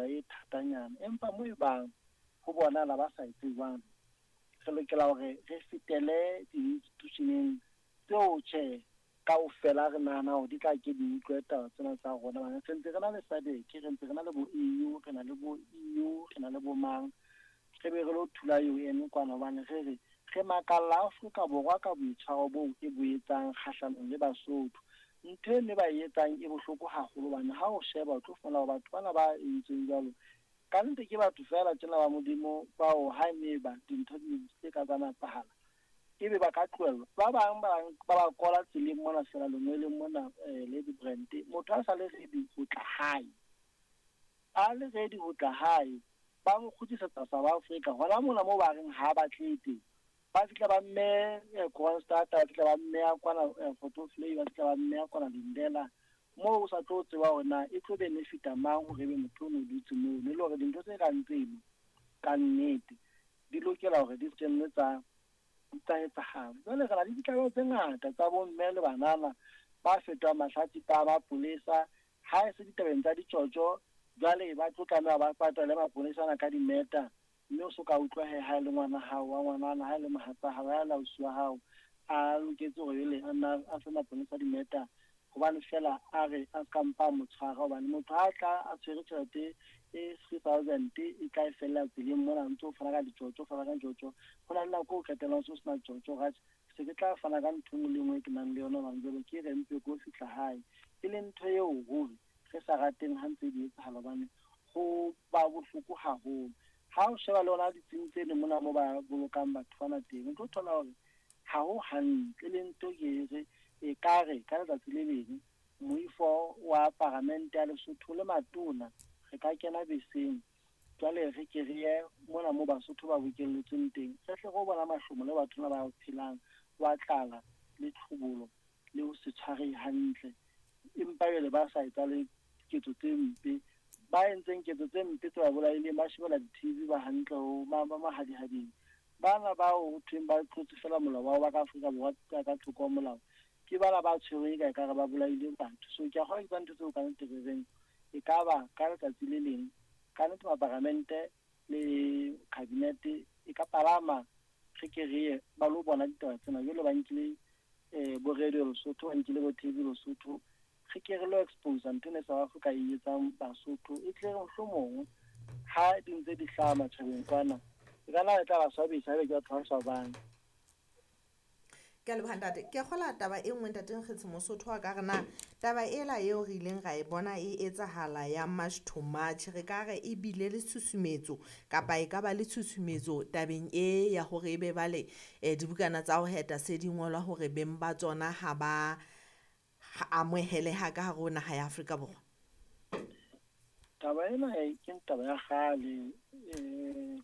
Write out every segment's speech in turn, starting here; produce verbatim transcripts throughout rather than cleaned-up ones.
tsela e thatanyana. Empa mo e bang ho bonahala ba sa etse jwalo, re lokela hore re fetele di-institution-eng tseo tjhe kaofela re nahana hore di tla ke di utlwe taba tsena tsa rona. Hobane re ntse re na le SADC, re ntse re na le bo E U, re na le bo E U, re na le bo mang, re be re lo thula U N kwana, hobane re re re makalla Afrika Borwa ka boitshwaro boo e bo etsang kgahlanong le Basotho. Ntho e ne ba e etsang e bohloko haholo, hobane ha o sheba o tlo fumana hore batho bana ba entsweng jwalo ka nnete ke batho feela tjena ba Modimo bao ha ne ba dintho di tse ka tsa nepahala ebe ba ka tlohellwa. Ba bang ba ba ba kola tseleng mona feela lengweleng mona, eh, Lady Brand, motho a sa le ready ho tla hae, a le ready ho tla hae, ba mo kgutlisetsa South Africa hona mona moo ba reng ha ba tle teng. Ba fihla ba mme, eh, Kroonstad, ba fihla ba mme kwana, eh, Grootvlei, ba fihla ba mme kwana Lindela, moo o sa tlo tseba hore na e tlo benefita mang hore ebe motho o no dutse moo. Le hore dintho tse kang tseno ka nnete di lokela hore di se nne tsa, tsa etsahala. Jwale re na le ditlaleho tse ngata tsa bomme le banana ba fetohang mahlatsipa a mapolesa ha e se ditabeng tsa ditjotjo. Jwale ba tlo tlameha ba patale mapolesa ana ka dimeta, mme o so ka utlwa he ha e le ngwana hao wa ngwanana, ha e le mohatsa hao, ha e le ausi wa hao, a loketse hore jwale a nna a fe mapolesa dimeta, hobane feela a re a ska mpa a mo tshwara. Hobane motho ha tla a tshwere tjhelete e three thousand e tla e fella tseleng mona, ntse o fana ka ditjotjo, o fana ka ditjotjo. Ho na le nako o qetellang o se o sena tjotjo, ra tjhe, se ke tla fana ka ntho e nngwe le e nngwe e ke nang le yona, hobane jwale ke re mpe ko fihla hae. E leng ntho eo ruri re sa rateng ha ntse di etsahala, hobane ho ba bohloko haholo. Ha o sheba le hona ditsing tse leng mona moo ba bolokang batho bana teng, o tlo thola hore ha ho hantle. E leng ntho ke re e ka re ka letsatsi le leng moifo wa paramente ya Lesotho le matona re ka kena beseng, jwale re ke re ye mona moo Basotho ba bokelletsweng teng, re tle re bona mahlomo le batho ba phelang wa tlala le tlhobolo le ho se tshwarehe hantle, empa jwale ba sa etsa le ketso tse mpe. Ba entseng ketso tse mpe tse ba bolaileng ba shebella di-T V ba hantle ho ma-, ba mahadihading. Bana bao ho thweng ba tlotse fela molao wa ba ka Afrika Borwa ka, ka thoko ho molao, ke bana ba tshwerweng ka ekare ba bolaile batho. So ke a kgolwa ke tsa ntho tseo ka nnete re reng e ka ba ka letsatsi le leng ka nnete maparamente le kabinete e ka palama re ke re ye ba lo bona ditaba tsena. Jwale ba nkile, eh, bo radio Lesotho, ba nkile bo T V Lesotho, re ke re lo expose ntho ena e South Africa e etsang Basotho. E tle re mohlomong ha di ntse di hlaha matjhabeng kwana, e ka nna e tla ba swabisa haebe ke batho ba swabang. Ke a leboha ntate. Ke a kgola taba e nngwe ntate Nkgetshe Mosotho wa ka re na taba ela eo re ileng ra e bona e etsahala ya March to March, re ka re e bile le tshusumetso kapa e ka ba le tshusumetso tabeng e ya hore ebe bale, eh, dibukana tsa ho heta se di ngolwa hore beng ba tsona ha ba amoheleha ka hare ho naha ya Afrika Borwa? Taba ena e ke taba ya kgale. Eh,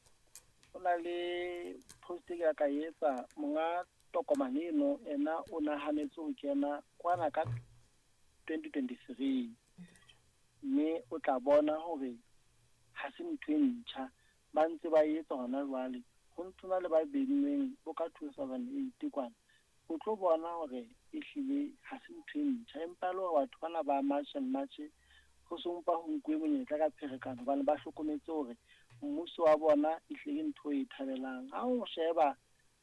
ho na le post e ke ka etsa monga tokomane eno, ena o nahanetse ho kena kwana ka twenty twenty-three, mme o tla bona hore ha se ntho e ntjha, ba ntse ba etsa hona jwale. Ho ntse na le ba beinweng bo ka two thousand eight kwana, o tlo bona hore ehlile ha se ntho e ntjha. Empa le hore batho bana ba March and March ho so mpa ho nkuwe monyetla ka pherekano, hobane ba hlokometse hore mmuso wa bona ehlile ke ntho e thabelang. Ha o sheba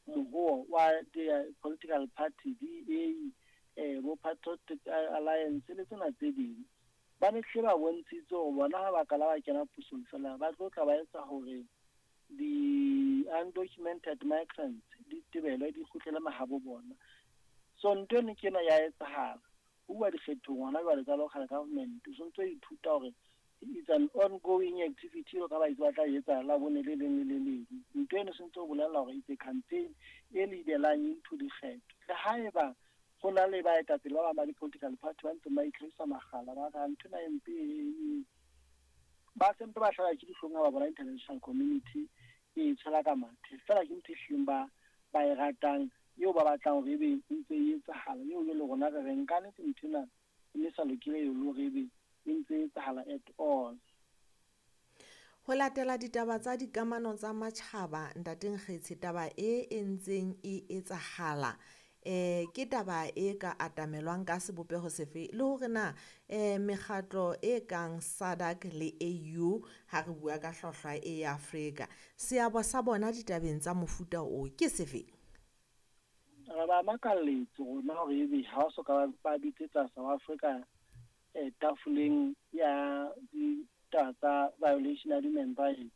moruo wa di-political party, D A, eh, bo Patriotic Alliance le tsena tse ding, ba ne hle ba bontshitse hore bona ha ba ka la ba kena pusong fela, ba tlo tla ba etsa hore di-undocumented migrants di tebelwe, di kgutlele mahabo bona. So ntho eno ke ena ya etsahala. Ho bua dikgethong hona jwale tsa local government, o sontso o ithuta hore it's an ongoing activity eo ka ba itse ba tla etsa la bone le leng le le leng. Ntho eno sentse o bolela hore it's a campaign e leadelang into dikgetho. Le haeba ho na le baetapele ba bang ba di-political party ba ntseng ba itlhahisa makgala, ba re ntho ena e mpe e, ba sempe ba hlaha ke dihlong ha ba bona international community e tshwela ka mathe. Feela ke ntho e hlileng ba, ba e ratang, eo ba batlang hore ebe e ntse e etsahala, eo le rona re reng ka nnete ntho ena e ne sa lokile eo le hore ebe e ntse e etsahala at all. Ho latela ditaba tsa dikamano tsa matjhaba, Ntate Nkgetshe, taba e e ntseng e etsahala, Eh ke taba e ka atamelwang ka sebopeho sefe le hore na eh mekgatlo e kang SADC le A U ha re bua ka hlwahlwa e ya Afrika seabo sa bona ditabeng tsa mofuta o ke sefe? Re ba makalletse rona hore ebe ha o so ka ba bitsetsa South Africa eh tafoleng ya ditaba tsa violation ya human rights.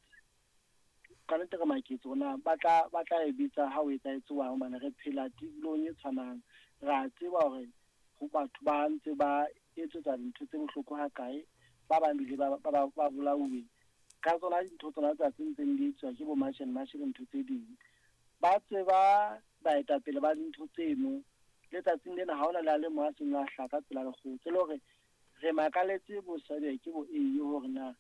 Ka nnete re maketse rona ba tla ba tla e bitsa ha o etsahetse jwang hobane re phela tulong e tshwanang. Re a tseba hore ho batho ba ntse ba etsetsa dintho tse bohloko hakae, ba bang bile ba ba ba bolauwe ka tsona dintho tsona tsa tse ntseng di etswa ke bo March and March le ntho tse ding. Ba tseba baetapele ba dintho tseno letsatsing lena ha hona le a le mong a seng a hlaha ka tsela lekgotla le hore re makaletse bo SADC bo A U hore na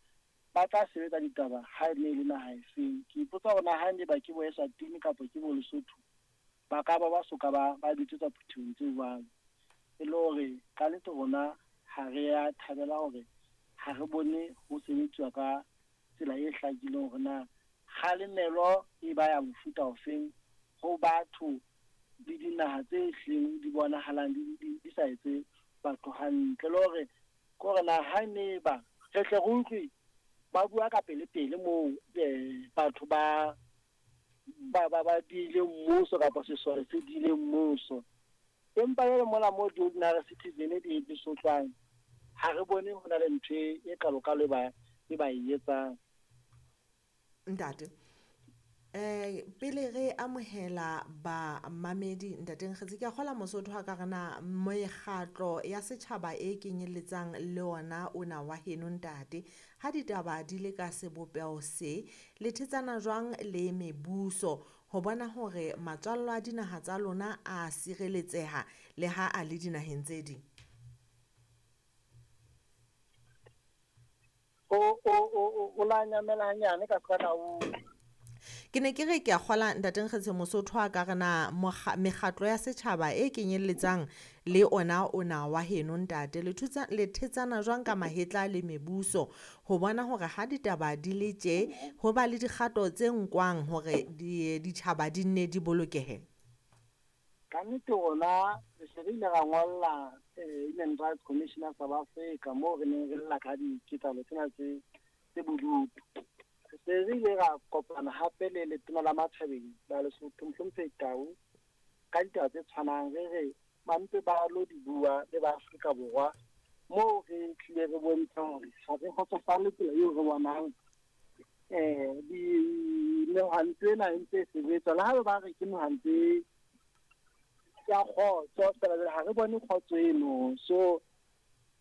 ba tla sebetsa ditaba ha e ne le naha efeng. Ke ipotsa hore na ha ne ba ke bo Eswatini kapa ke bo Lesotho ba ka ba ba soka ba ba bitsetswa phuthehong tse jwalo. E le hore ka nnete rona ha re a thabela hore ha re bone ho sebetsuwa ka tsela e hlakileng hore na kgalemelo e ba ya mofuta ofeng ho batho le dinaha tse hlileng di bonahalang di, di, di sa etse batho hantle. Le hore ke hore na ha ne ba re tle re utlwe ba bua ka pele pele moo eh batho ba ba ba ba diile mmuso kapa sesole se diile mmuso, empa jwale mona mo di-ordinary citizen di di sotlwang ha re bone ho na le ntho e kalokalo e ba e ba e etsang. Ntate eh pele re amohela ba mamedi ntate Nkgetse ke a kgola Mosotho ha ka re na mekgatlo ya setjhaba e kenyelletsang le ona ona wa heno ntate ha ditaba di le ka sebopeho se le thetsana jwang le mebuso ho bona hore matswallo a dinaha tsa lona a sireletseha le ha a le dinaheng tse ding? O o o o la nyamela hanyane ka ska ka o Ke ne ke re ke a kgola ntate Nkgetse Mosotho a ka re na mekgatlo ya setjhaba e kenyelletsang le ona ona wa heno ntate le thutsa le thetsana jwang ka mahetla le mebuso ho bona hore ha ditaba di le tje ho ba le dikgato tse nkwang hore di ditjhaba di nne di bolokehe? Ka nnete rona re se re ile ra ngolla Human Rights Commission ya South Africa moo re neng re lla ka diketsahalo tsena tse tse bodutu. Re se re ile ra kopana hape le letona la Matjhabeng la Lesotho Mohlomphehi Tau ka ditaba tse tshwanang, re re ba mpe ba lo di bua le ba Afrika Borwa moo re tlile re bontsha hore ha re kgotsofale tsela eo re bonang eh di mehwanto ena e ntse e sebetsa. Le ha ba re ke mehwanto ya kgotso fela jwale ha re bone kgotso eno. So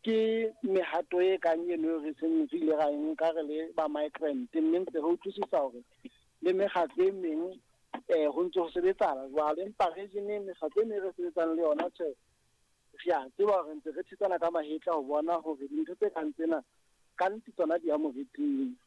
ke mehato e kang eno re seng re ile ra e nka re le ba migrant, mme ntse re utlwisisa hore le mekgatlo e meng eh ho ntse ho sebetsana jwale, empa region mekgatlo e meng re sebetsang le yona tjhe re a tseba hore ntse re thetsana ka mahetla ho bona hore dintho tse kang tsena ka nnete tsona di ya moriting.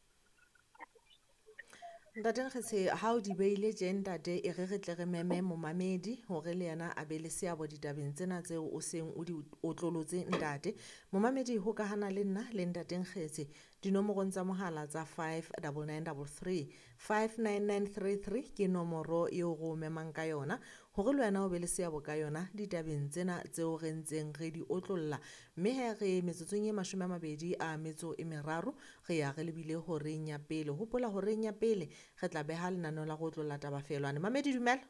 Ntate Nkgetse ha o di beile tje ntate e re re tle re meme momamedi hore le yena a be le seabo ditabeng tsena tseo o seng o di otlolotse ntate. Momamedi hokahana le nna le ntate Nkgetse dinomorong tsa mohala tsa five double nine double three, five nine nine three three ke nomoro eo re o memang ka yona hore le wena o be le seabo ka yona ditabeng tsena tseo re ntseng re di otlolla. Mme he re metsotsong e mashome a mabedi a metso e meraro re ya re lebile horeng ya pele. Hopola horeng ya pele re tla beha lenaneo la go otlolla taba felwane. Mamedi dumela.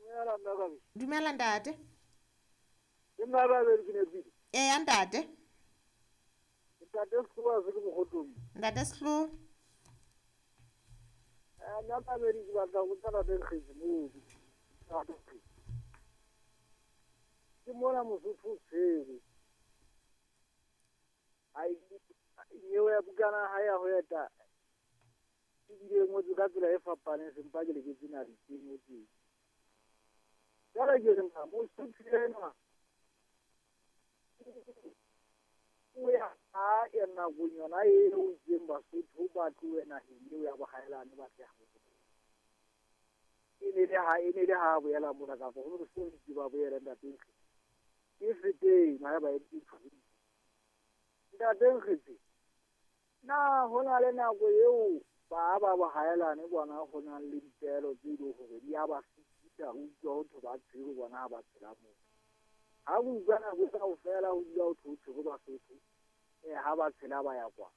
Dumela nna Kabedi. Dumela ntate. Ke nna Kabedi ke nepile. Eya ntate. Ntate Sehloa se ke Mokgotong. Ntate Sehloa. Eh nna Kabedi ke batla ho botsa ntate Nkgetse moo. Ke mona Mosotho o tshwerwe. Ai nyewe ya bukana ha ya ho eta ebile e ngotswe ka tsela e fapaneng sempa ke leketse na di e ngotsweng. Jwale ke re na Mosotho enwa o ya hae nakong yona eo itseng Basotho ba tlohe naheng eo ya bohaelane ba tle habo. E ne le ha e ne le ha boela mona kapa ho no se itse ba boela ntate Nkgetse. Ke feteng ha ba e itse. Ntate Nkgetse na ho na le nako eo ba ba bohaelane bona ho nang le dipehelo tse leng hore di a ba fihla re utlwa ho thwe ba tshwerwe bona ha ba tshela moo. Ha re utlwa nako kaofela ho dula ho thwe ho tshwerwe Basotho, eh ha ba tshela ba ya kwa.